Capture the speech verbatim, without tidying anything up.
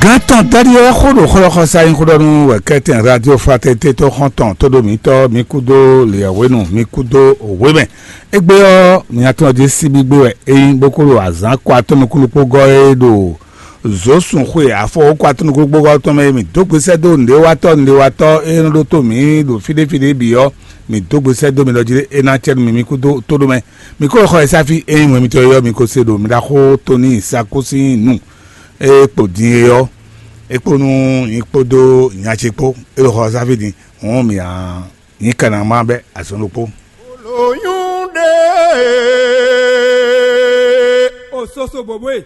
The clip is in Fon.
Gǎn tɔn Dali ɔ́ xó ɖo xlɔ́xɔsá nyí xó ɖɔ nú wɛ̌kɛ́tɛn Radio Fraternité tó xɔ́ntɔn tó ɖo mǐtɔn, mi kúdó lěyɛ̌hwenu, mi kúdó wěmɛ. Égbé ɔ́, mi nya tɔn jí síbígbé wɛ é nyí, bó kó ɖo azǎn kɔ atɔ́ nukúnnú kpó gɔ́ é ɖo zǒsun xwe afɔ kɔ atɔ́ nukúnnú kpó gɔ́ tɔn mɛ é. Mǐ dó gbe sɛ́ dó nǔɖéwatɔ́ nǔɖéwatɔ́ é nɔ ɖótó mǐ ɖo fí ɖé fí ɖé bǐ ɔ́, mǐ dó gbe sɛ́ dó mi ɖɔ jí é ná acɛ nú mi, mi kúdó tó ɖó mɛ. Mi kó xɔ e sáfí é nyí wɛn mitɔn e ɔ́, mi ko se ɖo mi ɖaxó Tóni Sakú sín nu e kpo din é ɔ́, é kpó nú nyí kpódó nya ce kpó. É ɖo xɔ sáfí din, hɔn mǐ a nyǐ kanamá bɛ́ azɔn ɖokpó. Olóyún ɖe o soso bòbó e.